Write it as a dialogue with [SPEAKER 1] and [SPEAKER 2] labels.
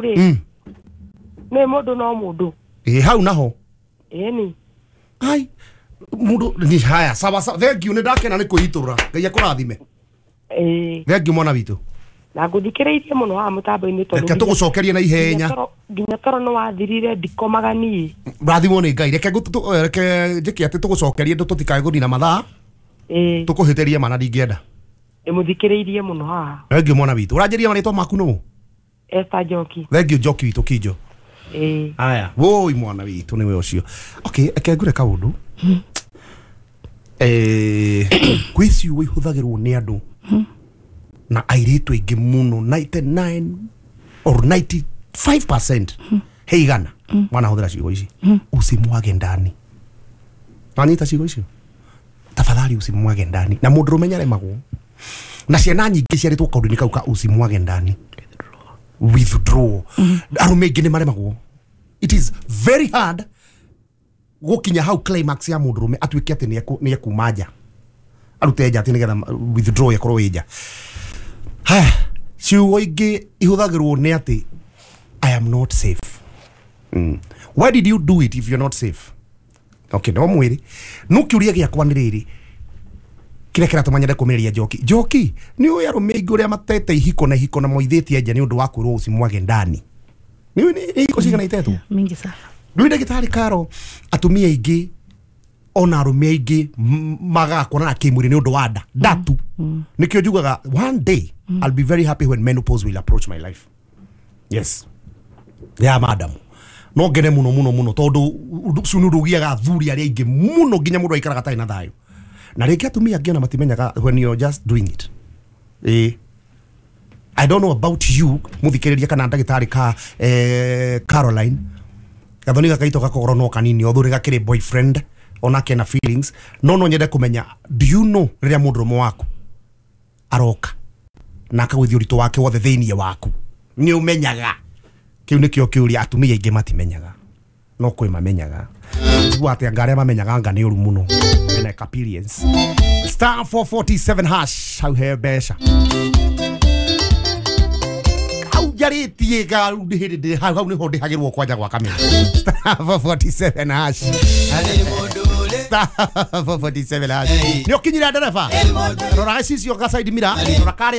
[SPEAKER 1] Rĩ, nĩ mũndũ no mũndũ.
[SPEAKER 2] Ĩ hau naho.
[SPEAKER 1] Ĩni.
[SPEAKER 2] Ai, mũndũ ni haya, sawa sawa, thank you, nĩ ndakena nĩ kwĩitũrũra. Ngai akũrathime.
[SPEAKER 1] Ĩĩ.
[SPEAKER 2] Thank you, mwana witũ.
[SPEAKER 1] Na ngũthikĩrĩirie mũno haha mũtambo-inĩ tondũ
[SPEAKER 2] Reke tũgũcokerie na ihenya.
[SPEAKER 1] Nginya toro nĩ wathirire, ndikomaga niĩ.
[SPEAKER 2] Rathimwo nĩ Ngai. Reke reke njĩke atĩ tũgũcokerie ndũ tũtikae gũthina mathaa.
[SPEAKER 1] Ĩĩ.
[SPEAKER 2] Tũkũhĩtĩrie mana ndingĩenda.
[SPEAKER 1] Ndĩmũthikĩrĩirie mũno haha.
[SPEAKER 2] Thank you, mwana witũ. Ũranjĩria marĩtwa maku nũ?
[SPEAKER 1] Esther Njoki.
[SPEAKER 2] Thank you, Njoki witũ Kinjo.
[SPEAKER 1] Ĩĩ.
[SPEAKER 2] Aya, woi, mwana witũ nĩwe ũcio. Okay, eke ngure kaũndũ. Kwĩ ciugo ihũthagĩrwo nĩ andũ na airĩtu aingĩ mũno, 99 or 95% he igana wanahũthĩra ciugo ici, "Usimwage ndani." Wanyita ciugo icio? "Tafadhali usimwage ndani." Na mũndũrũme nĩaremagwo na ciana nyingĩ ciarĩtwo kaũndũ-inĩ kau ka "usimwage ndani", withdraw. Arũme aingĩ nĩ maremagwo. It is very hard gũkinya hau climax ya mũndũrũme atuĩke atĩ nĩ ekuma nja, arute nja atĩ nĩgetha withdraw ĩkorwo ĩ nja. Haya, ciugo ingĩ ihũthagĩrwo nĩ atĩ "I am not safe." Why did you do it if you're not safe? Okay, no mwĩrĩ no kĩũria gĩakwa nĩ rĩrĩ, kĩrĩa kĩratũma nyende kũmĩrĩria Njoki. Njoki, nĩ ũĩ arũme aingĩ ũrĩa matete ihiko na ihiko na moithĩtie nja nĩ ũndũ wa kwĩrwo "usimwage ndani"? Nĩ ũĩ nĩ ihiko cigana itetwo?
[SPEAKER 3] Mingi sana.
[SPEAKER 2] Rĩu ndagĩtarĩ Karo, atumia aingĩ ona arũme aingĩ magaga kuonana kĩmwĩrĩ nĩ ũndũ wa nda ndatu. Nĩkĩo njugaga one day I'll be very happy when menopause will approach my life. Yes, ya madam, no ngene mũno mũno mũno tondũ ũndũ ũcio nĩ ũndũ ũgiaga athuri arĩa aingĩ mũno, nginya mũndũ aikaraga atarĩ na thayũ. Na rĩngĩ atumia angĩ ona matimenyaga when you're just doing it. Ĩĩ, I don't know about you, muthikĩrĩria kana ndagĩtarĩ ka Caroline, gathoni gakaitũ gakogoro no kanini othu gakĩrĩ boyfriend onake na feelings, no nyende kũmenya, do you know rĩrĩa mũndũrũme waku aroka na akagũithia ũritũ wake wothe thĩiniĩ waku, nĩ ũmenyaga? Kĩu nĩkĩo kĩũria. Atumia aingĩ matimenyaga, no kwĩ mamenyaga. Njigua atĩ anga arĩa mamenyaga anga nĩ ũru mũno mena experience. *447# hau he mbeca hau njarĩtie ga rĩu hĩndĩ ndĩ hau, hau nĩho ndĩhagĩrwo kwanja gwa kamera. *447#, *447#. Nĩ ũkinyire ndereba, rora gĩcicio ga side mirror, rora karĩa.